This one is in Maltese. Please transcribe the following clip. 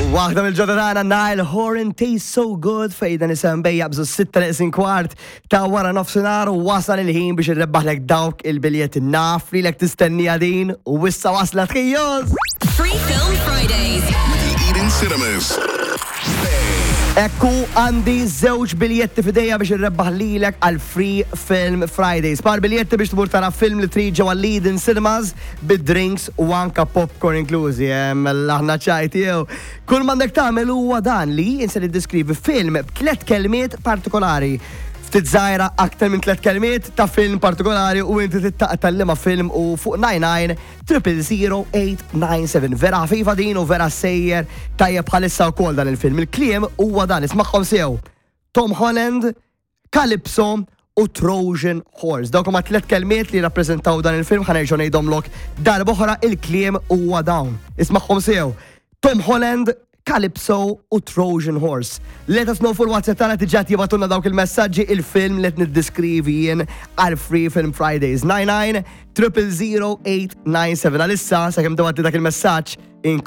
Waħda mill-ġodda tagħna Niall Horan Tastes So Good fejn dan isem bej jabżu 6 neqsin kwart ta' wara nofsinhar u wasal il-ħin biex irrebbaħlek dawk il-biljetti naf li lek tistennija din u issa waslet ħijos. Free Film Fridays. With the Eden Cinemas. Ekku għandi żewġ biljetti f'idejja biex irrebbaħ lilek għal Free Film Fridays. Par biljetti biex tmur tara film li trid ġewwa l-Eden Cinemas bid-drinks u anka popcorn inklużi. Mela aħna ċajt jew. Kull m'għandek tagħmel huwa dan li jien se niddeskrivi film b'tliet kelmiet partikolari. Ftit żgħira aktar minn tliet kelmiet ta' film partikolari u inti tittaqta' liema film u fuq 99 000 897. Vera ħafifa din u vera sejjer tajjeb bħalissa wkoll dan il-film. Il-kliem huwa dan, ismagħhom sew. Tom Holland, Calypso u Trojan Horse. Dawk huma tliet kelmiet li rappreżentaw dan il-film ħa nerġgħu ngħidhomlok darb'oħra il-kliem huwa dawn. Ismagħhom sew. Tom Holland, Calypso u Trojan Horse. Let us know fuq il-WhatsApp tagħna diġà jibgħatulna dawk il-messaġġi il-film li qed niddiskrivi jien għal Free Film Fridays. 99 000 897 Għalissa sakemm tibgħatli dak il-messaġġ inko